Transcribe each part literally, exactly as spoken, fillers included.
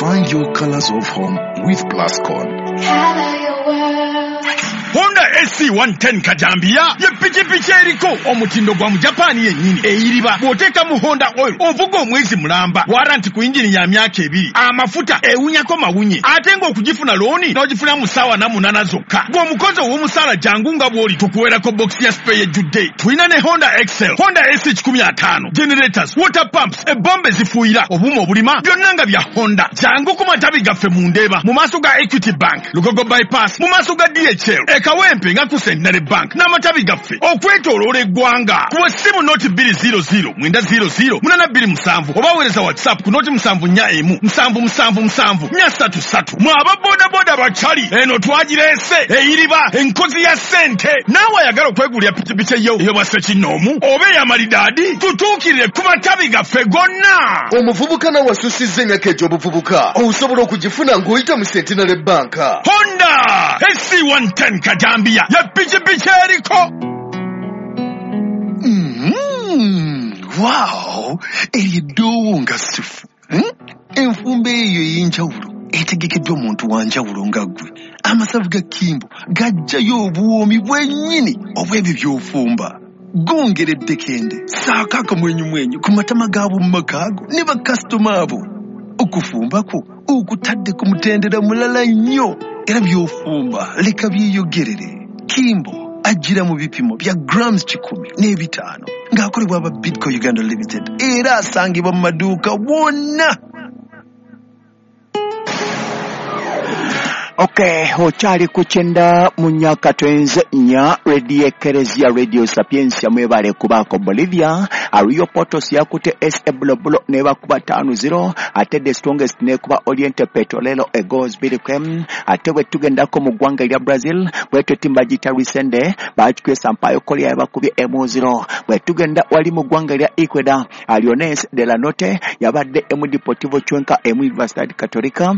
Find your colors of home with Plascon. Color your world. Honda S C one ten kajambiya ye pikipiki eriko omutindo gwa Mujapani yennyini eyiriba. Bw'oteeka mu Honda oil ovuga omwezi mulamba, warranty ku yingini ya myaka ebiri, amafuta ewunyako mawunye, ate ng'okugifuna looni n'ogifuna mu ssaawa na munaana zokka. Gw'omukozi ow'omusaala jangu nga bw'oli tukuweerako bokisi ya spare ejjudde. Tulina ne Honda Excel, Honda S kikumi ataano, generators, water pumps, ebombe ezifuuyira, obuuma obulima, byonna nga bya Honda. Jangu ku matabi gaffe mu Ndeeba mu maaso ga Equity Bank, Lugogo Bypass mu maaso ga D H L, e Kawempe nga ku Centenary Bank n'amatabi gaffe okwetooloola eggwanga. Kuba essimu noti bbiri zero zero mwenda zero zero munaana bbiri musanvu oba weereza WhatsApp ku noti musanvu nnya emu musanvu musanvu musanvu nnya ssatu ssatu. Mwe aba bodaboda bakyali eno twagireese eyiriba enkozi ya ssente. Naawe ayagala okwegulira pikipiki eyo ey'obwa ssekinnoomu oba ey'amalidaadi, tutuukirire ku matabi gaffe gonna. Omuvubuka nawe asusizza emyaka egy'obuvubuka osobola okugifuna ng'oyita mu Centenary Bank. Honda S C one ten kajambiya ya pikipiki eriko. Mm, wow, eryo eddoowo nga ssufu. Hmm? Enfumba eyo ey'enjawulo etegekeddwa omuntu wa njawulo nga ggwe. Amasavu ga Kimbo gajjayo obuwoomi bwennyini obw'ebyo by'ofumba. Gongera eddekende, ssaako akamwenyumwenyu ku matama g'ab'omu maka ago ne bakasitoma abo. Okufumba kwo okutadde ku mutendera mulala nnyo, era by'ofumba leka byeyogerere. Kimbo ajjira mu bipimo bya grams kikumi n'ebitaano ng'akolebwa aba Bidco Uganda Limited, era asangibwa mu maduuka wonna. Okay, okyali ku kyenda mu myaka twenze nnya Radio Ekereziya Radio Sapientia mwebale kubaako Bolivia. Rio Potos yakute S A Bulobulo nebakuba ttaano zero, ate The Strongest nekuba Oriente Petrolero Eagles bbiri kwemu. Ate bwe tugendako mu ggwanga erya Brazil bwetyo ttiimu bagiyita Resende bakikubye Sampaio Korea yabakubye emu zero. Bwe tugenda wali mu ggwanga erya Ecuador, Leones de la Norte yabadde emu Deportivo Cuenca emu Universidad Católica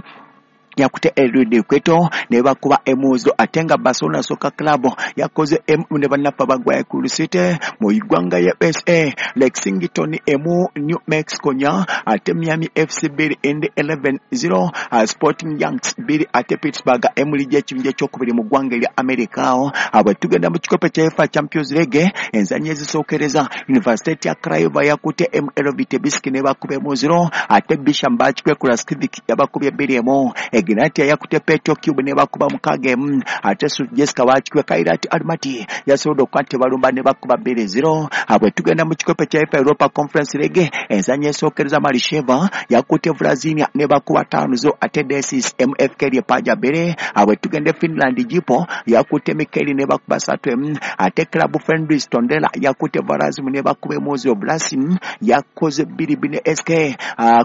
yakute Elwede Kweto ne bakuba emuzo, ate nga Barcelona Soccer Club yakoze emu ne bannaffe abagwaye ku City mu ggwanga ya U S A, Lexington emu New Mexico nya, ate Miami F C bbiri Indy eleven zero, Sporting Yanks bbiri ate Pittsburgh emu ligi ekibinja ekyokubiri mu ggwanga erya America. Awo bwe tugenda mu kikopo kya UEFA Champions League enzannya ezisookereza, University ya Craiova yakute M L V Tbilisi ne bakuba emu zero, ate Bisham bakikubye Kraskivic yabakubye bbiri emu. Ignatia yakute Petro Cube ne bakuba mukaaga emu, ate Jessica bakikubye Kairat Almaty yasobodde okuba nti balumba ne bakuba bbiri zero. Bwe tugenda mu kikopo kya UEFA Europa Conference League enzannya esookereza, Malisheva yakute Vrazinia ne bakuba ttaano zero, ate Desis M F K Liepaja bbiri. Bwe tugenda Finland, Jipo yakute Mikeli ne bakuba ssatu emu, ate Club Fendris Tondela yakute Varazim ne bakuba emu zero, Blasim yakoze bbiri bbiri ne S K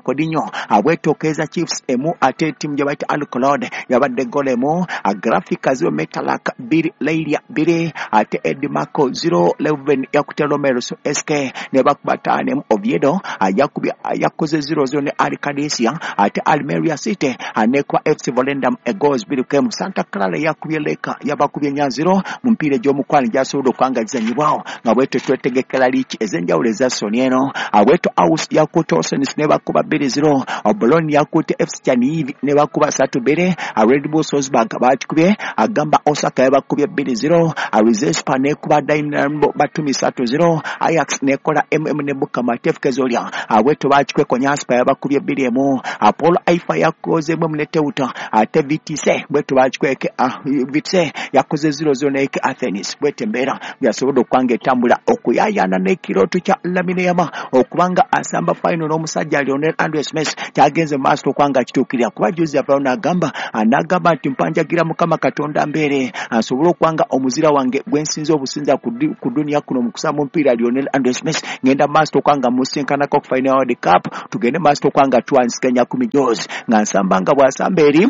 Kodinho. Bwetokeza Chiefs emu ate ttiimu gye bayita Alcolod yabadde golemu, Graphica zero Metalak bbiri Leiria bbiri, ate Edmarco zero Leuven yakute Romero S K ne bakuba ttaano emu, Oviedo yakubye yakoze zero zero ne Al Qadisiyah, ate Almeria City anekuba F C Volendam egoals bbiri kwemu. Santa Clara yakubye Leka yabakubye nnya zero mu mpiira egy'omukwano gyasobodde okuba gizannyibwawo nga bwetyo twetegekera liiki ez'enjawulo eza soni eno. Bwetyo Aus yakute Oceans ne bakuba bbiri zero, Bologna yakute F C Chernihiv ne bakuba ssatu bbiri, Red Bull Salzburg bakikubye agamba Osaka yabakubye bbiri zero, Rizespa nekuba Dynamo Batumi ssatu zero, Ajax nekola M M ne Bukama F K Zoria bwetyo bakikubye Konyaspor yabakubye bbiri emu, Apollo Haifa yakoze emu ne Teuta, ate V T C bwetyo bakikubye V T C yakoze zero zero ne Athens. Bwetyo embeera byasobodde okuba etambula okuyaayaana n'ekirooto kya Lamine Yamal okubanga asamba final n'omusajja Lionel Andres Messi kyagenze mu maaso okuba kituukirira, kuba juzi avaayo n'agamba n'agamba nti mpanjagira Mukama Katonda mbeere asobole okuba omuzira wange gwe nsinza obusinza ku duniya kuno mu kusamba omupiira Lionel Andres Messi ngenda mu maaso okuba musinkanako ku final World Cup, tugende mu maaso okuba tuwansiganya ku mijozi nga nsamba nga bw'asamba eri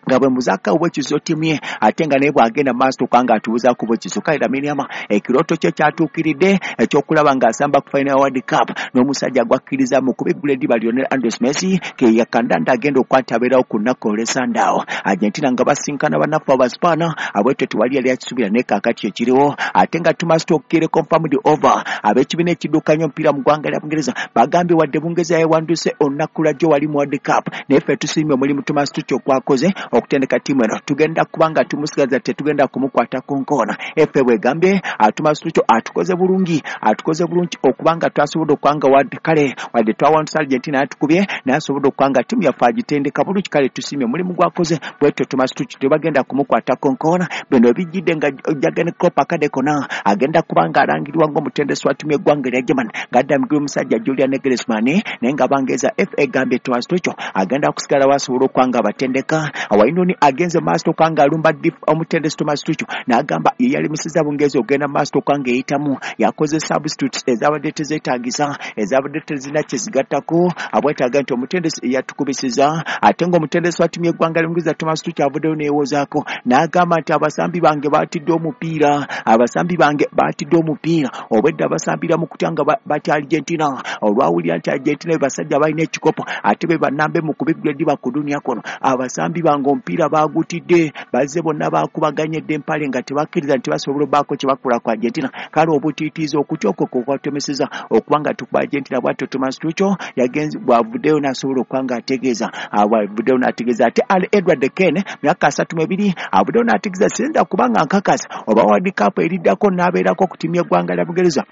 Nga bwe muzaka obwekizo ttiimu ye ate nga naye bw'agenda maaso okubanga atubuzaako bwekizo. Kale Lamine Yamal ekirooto kye kyatuukiridde ekyokulaba ng'asamba ku final World Cup n'omusajja gwakkiriza mu kubiggula eddiba Lionel Andres Messi ke yakandanda agenda okwata abeerawo ku nnaku olw'essandaawo. Argentina nga basinkana bannaffe Abaspaana abwetyo tewali yali akisuubira naye kaakati ekiriwo. Ate nga Thomas Tuchel confirmed over ab'ekibiina ekiddukanya omupiira mu ggwanga lya Bungereza bagambye wadde Bungereza yewanduse olunaku lwa jjo wali mu World Cup naye ffe tusiimye omulimu Thomas Tuchel gwakoze okutendeka ttiimu eno, tugenda kubanga tumusigaza tetugenda kumukwata ku nkoona. Ffe bwegambye Thomas Tuchel atukoze bulungi, atukoze bulungi okubanga twasobodde okwanga wadde kale wadde twawanduse Argentina yatukubye naye asobodde okwanga ttiimu yaffe agitendeka bulungi, kale tusiimye omulimu gwakoze. Bwetyo Thomas Tuchel tebagenda kumukwata ku nkoona. Bino bijjidde nga Jurgen Klopp akadde konna agenda kubanga alangirirwa ng'omutendesi wa ttiimu y'eggwanga erya Germany ng'addamigirwa omusajja Julian Nagelsmann, naye nga Abangereza F A egambye Thomas Tuchel agenda kusigala wasobola okwanga abatendeka. Wainoni agenze maaso okwanga alumba omutendesi Thomas Tuchel n'agamba ye yalemesezza Bungereza okugenda maaso okwanga eyitamu, yakoze substitutes ezabadde tezeetaagisa ezabadde tezirina kye zigattako, abwetaaga nti omutendesi yatukubisiza. Ate ng'omutendesi wa ttiimu y'eggwanga ly'Obungereza Thomas Tuchel avuddeyo neewozaako n'agamba nti abasambi bange baatidde omupiira, abasambi bange baatidde omupiira obwedda basambira mu kutya nga batya Argentina olwawulira nti Argentina be basajja balina ekikopo ate be bannambe mu kubiggula eddiba ku dunia kuno. Abasambi bange omupiira baagutidde, bazze bonna baakubaganyedde empale nga tebakkiriza nti basobola obbaako kye bakola ku Argentina. Kale obutiitiizi okutya okwo kwe kwatemeseza okuba nga tukuba Argentina. Bw'atyo Thomas Tuchel yagenze bw'avuddeyo n'asobola okuba nga ategeeza bw'avuddeyo n'ategeeza. Ate Al Edward Kane myaka asatu mu ebiri avuddeyo n'ategeeza siyinza kuba nga nkakasa oba World Cup eriddako n'abeerako ku ttiimu y'eggwanga lya Bungereza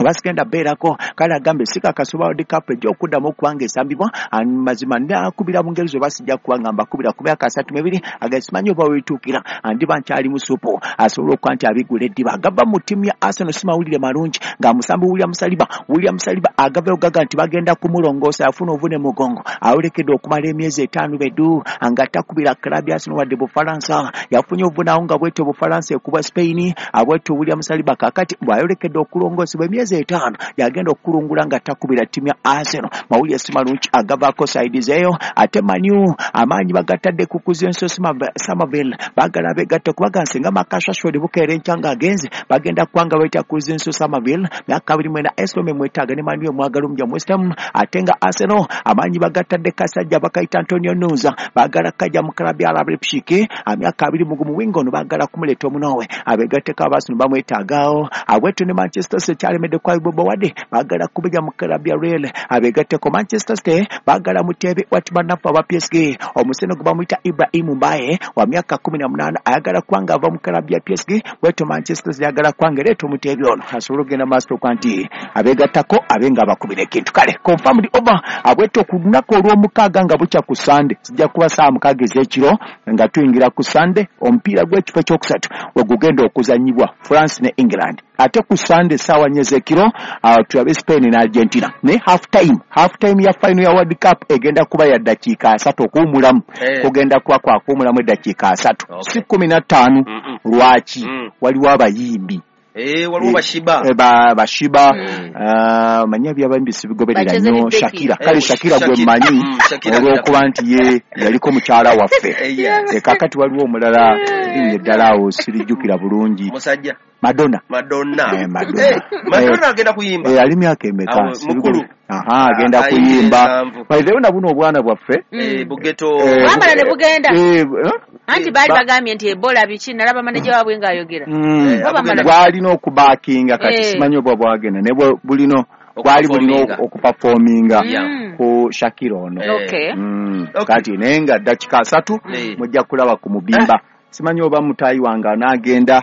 oba sigenda beerako. Kale agambe sikakasa oba World Cup ejja okuddamu okuba nga esambibwa mazima nakubira Bungereza oba sijja kuba nga mbakubira ku myaka asatu mu ebiri aga simanyi oba weetuukira andiba nkyali musupu asobola okuba nti abigula eddiba. Agava mu ttiimu ya Arsenal si mawulire malungi nga musambi William Saliba William Saliba agavayo gaga nti bagenda kumulongoosa afuna obuvune mugongo awolekedde okumala emyezi etaano beddu nga takubira club ya Arsenal wadde Bufalansa. Yafunye obuvunawo nga bwetyo Bufalansa ekuba Spain abwetyo William Saliba kaakati bw'ayolekedde okulongoosebwa emyezi etaano yagenda okukulungula nga takubira ttiimu ya Arsenal. Mawulire si malungi agavaako saidi zeeyo. Ate Man U amaanyi bagatadde ku Kuzenso Somerville baagala begatte kubaga nsinga Marcus Rashford bukeera enkya ng'agenze bagenda kubanga bayita Kuzenso Somerville myaka abiri mwena Esome mwetaaga ne Man U omwagala omujja mu West Ham. Ate nga Arsenal amaanyi bagatadde kasajja bakayita Antonio Nusa baagala kajja mu club ya Leipzig myaka abiri mu gumu winga ono baagala kumuleeta omunoowe abegatteko aba Arsenal bamwetaagaawo. Abwetyo ne Manchester City kyalemedde kwa Bobo wadde baagala kubijja mu club ya Real abegatteko Manchester City baagala muteebe wati bannaffe aba P S G omuseno gwe bamuyita Ibrahim Mbaye wa myaka kumi na munaana ayagala kubanga ava mu club ya P S G bwetyo Manchester City ayagala kubanga ereeta omuteebe ono asobole okugenda maaso okuba nti abegattako abe nga abakubira ekintu. Kale confirmed over abwetyo ku lunaku olw'omukaaga nga bukya ku Sunday zijja kuba ssaawa mukaaga ez'ekiro nga tuyingira ku Sunday omupiira gw'ekifo ekyokusatu we gugenda okuzannyibwa France ne England. Ate ku Sunday ssaawa nnya ez'ekiro uh, tulabe Spain ne Argentina. Naye half time half time ya final ya World Cup egenda kuba ya ddakiika asatu okuwummulamu Eh. kugenda kuba kwa kuwummulamu eddakiika asatu Okay. si kkumi na ttaano. Mm-mm. Lwaki? Mm. Waliwo abayimbi Eh, waliwo bashiba Eh, ba bashiba Mm. ah, manyi ebyabayimbi sibigoberera Bacheze nnyo ne Becky. Shakira kale Eh, Shakira gwe Shakira. mmanyi Mm, Shakira. olw'okuba nti ye yaliko mukyala waffe. Eh, yeah. Eh, kaakati waliwo omulala erinnya eddala awo sirijjukira bulungi musajja Madonna. Madonna. Eh, Madonna. Eh, Madonna agenda kuyimba. Eh, ali myaka emeka? Awo, mukulu. Aha, agenda Ah, ayingira kuyimba. ensanvu. By the way, na buno obwana bwaffe Eh, Bugeto. Eh, Bwamala ne bugenda. eh, eh? Anti baali Ba- bagambye nti Ebola biki nalaba maneja waabwe ng'ayogera. Mm. Eh, Bamala- bwalina okubaakinga kati Eh. simanyi oba bwagenda naye bwe- bulino bwali bulina Okuperforminga. okupafominga Yeah. Mm. ku Shakira ono. Eh. Okay. Mm. Okay. Kati naye nga ddakika asatu Eh. mujja kulaba ku mubimba. Simanyi oba mutaayi wange anaagenda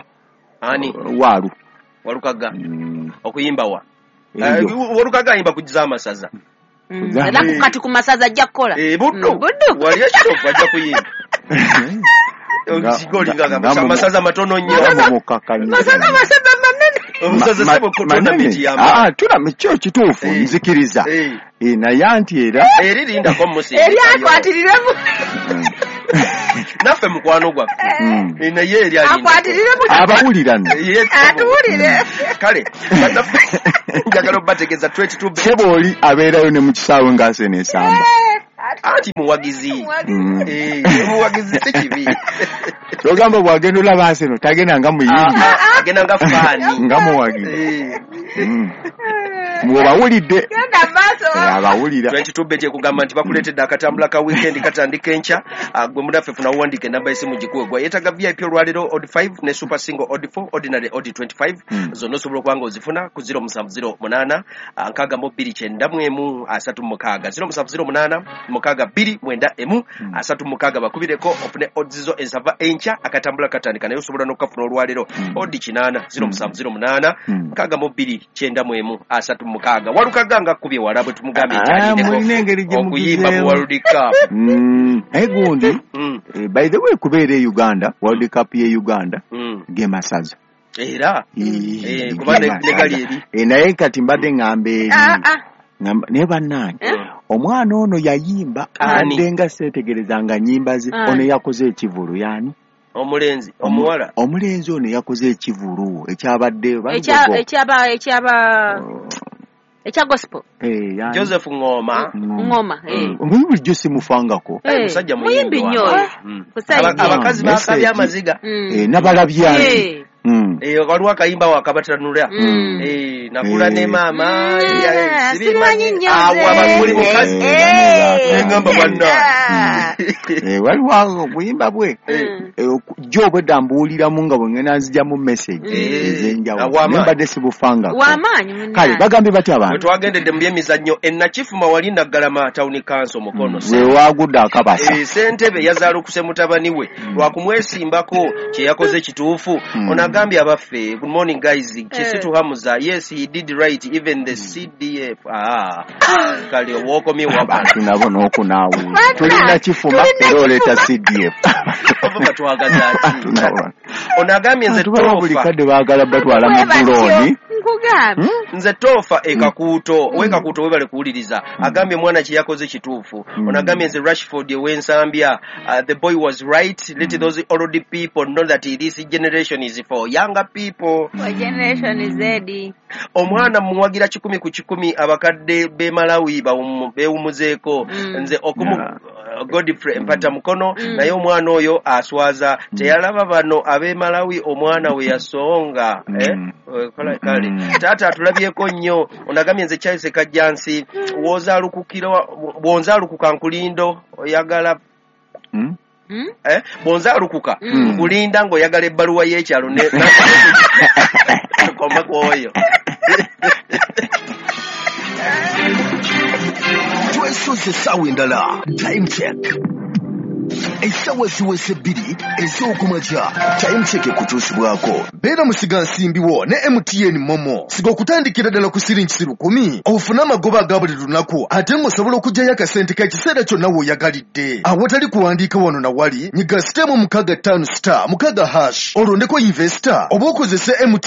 Ani? waalu. Walukaga. Mm. Okuyimba wa? Eyo. Eh, Walukaga ayimba kugiza amasaza. Mm. Era ku- kati ku masaza ajja kukola. Eh, Buddu. Mm, Buddu. Wali ekitovu ajja kuyimba. Nga- Okigooli nga- nga nga mu- amasaza matono nnyo. nga mumukakanya. Masaza masaza manene. Omusaza Ma- sebo ma- tournament manene. y'amaanyi. Ah, tournament kyo kituufu Eh. nzikiriza. Eh. Eh, naye anti era Eri lindako musinga. Eri akwatiriremu. Naffe mukwano gwaffe. Mm. Eh, naye eri alinda. Akwatiriremu. Abawulira nno. Eh, ye- Atuwulire. Kale, bannaffe njagala obbategeeza twenty-two Sebo oli abeerayo ne mu kisaawe ng'asena esamba. Eh, Anti muwagizi. Mm. Eh, muwagizi si kibi. Togamba bw'agenda olaba Arsenal tagenda nga muyimbi. Ah, agenda nga faani. Nga muwagizi. Eh. Mm. Bw'obawulidde. Genda maaso. Eh, abawulira. twenty-two bet ekugamba nti bakuleetedde akatambula ka weekend katandika enkya. Ah, gwe munaffe funa uwandiike enamba y'essimu gikuwe. Gwe yeetaaga V I P olwaleero odd five ne super single odd four, ordinary odd twenty-five. Mm. Zonna osobola okuba nga ozifuna ku zero musanvu zero munaana, ah, nkaaga mu bbiri kyenda mu emu, asatu mu mukaaga. Zero musanvu zero munaana, mukaaga bbiri mwenda emu, Mm. asatu mu mukaaga. Bakubireko ofune odds zo ensava enkya, akatambula katandika naye osobola n'okukafuna olwaleero. Mm. Odd kinaana, zero musanvu zero munaana, Mm. nkaaga mu bbiri kyenda mu emu, asatu mu mukaaga. Walukaga nga kkubye wala bwe tumugambye nti Ah, alindeko mulina engeri gye okuyimba mu mugizeemu. World Cup. Mm. Naye gundi, Mm. eh, by the way, kubeera e Uganda, World Cup ye Uganda, Mm. ge masaza. Era Eh, Eh, kuba ne- ge ne gali masaza. eri. Eh, naye kati mbadde ŋŋamba eri. Ah, ah. Ŋŋamba, naye bannange, Eh? omwana ono yayimba, Ani? abadde nga seetegerezanga nnyimba ze. Ani? Ono yakoze ekivulu y'ani? Omulenzi, omuwala. Omulenzi ono yakoze ekivulu ekyabadde Ekya- Balugogo. ekyaba ekyaba ekya gospel. Eh, y'ani? Joseph Ngoma. Mm. Ngoma, eh. Omanyi bulijjo simufangako. Eh, Musajja muyimbi muyimbi nnyo wa- oyo. Mm. Kusajja. Aba- abakazi Message. baakabye amaziga. Mm. Eh, n'abalabyange. Eh. Mm. Eh, waliwo akayimba wakabatanula. Mm. Eh, nakula Eh. ne maama. Mm, eh, sibimanyi nnyo Awo nze. abakuli mukazi. Eh, Eh. Ngamba bwanna. Ah. Eh, waliwo awo obuyimba bwe. Mm. Eh, oku- jjo obwedda mbuwuliramu nga bwe ngenda nzigyamu message Eh, ez'enjawulo. w'amaanyi. Naye mbadde sibufangako. W'amaanyi munnange. Kale bagambye batya Bwe abantu? twagendedde mu byemizannyo e Nakifuma wali Naggalama Town Council Mukono. We waagudde akabasa. Eh, ssentebe yazaalukuse mutabani we lwakumwesimbako kye yakoze kituufu. Mm. Ono agambye abaffe, good morning guys, Kisitu Hamza, yes he did right, even the C D F. Ah, kale wookomye wabala. Abantu nabo n'okunaawuula. Tulina Kifuma era oleeta C D F. Oba batwagaza ki? Abantu nabo. Ono agambye nze Abantu baba buli toofa. kadde baagala batwala mu Bwe batyo, bulooni. nkugambye. Nze toofa e Kakuuto, we Kakuuto webale kuwuliriza. Agambye omwana kye yakoze kituufu. Mm. Ono agambye nze Rashford ew'Ensambya, uh, the boy was right, let those old people know that this generation is for younger people. Wa generation Z. Omwana muwagira kikumi ku kikumi, abakadde b'e Malawi bawumu- beewumuzeeko. Mm. Nze okumu Yeah. uh, Godfrey Mpata Mukono, Mm. naye omwana oyo aswaza. Teyalaba bano ab'e Malawi omwana we yasonga. Mm. Eh? Eh, kale- kale. Mm. Taata atulabyeko nnyo. Onagambye nze Charles Kajjansi, w'ozaalukukira bw'onzaalukuka nkulindo oyagala Mm. Mm? eh? Bw'onzaalukuka Mm. nkulinda ng'oyagala ebbaluwa y'ekyalo ne koma ku oyo. Twesoze essaawa endala. Time check. Essaawa ziweze bbiri ez'okumakya. Time check ekutuusibwako. Beera musigansimbi wo ne M T N Momo. Siga okutandikira ddala ku siringi lukumi. Ofune amagoba aga buli lunaku ate ng'osobola okuggyayo akasente k'ekiseera kyonna w'oyagalidde. Awatali kuwandiika wano na wali, nyiga sitemu mukaaga ttaano star mukaaga hash olondeko investor oba okozese M T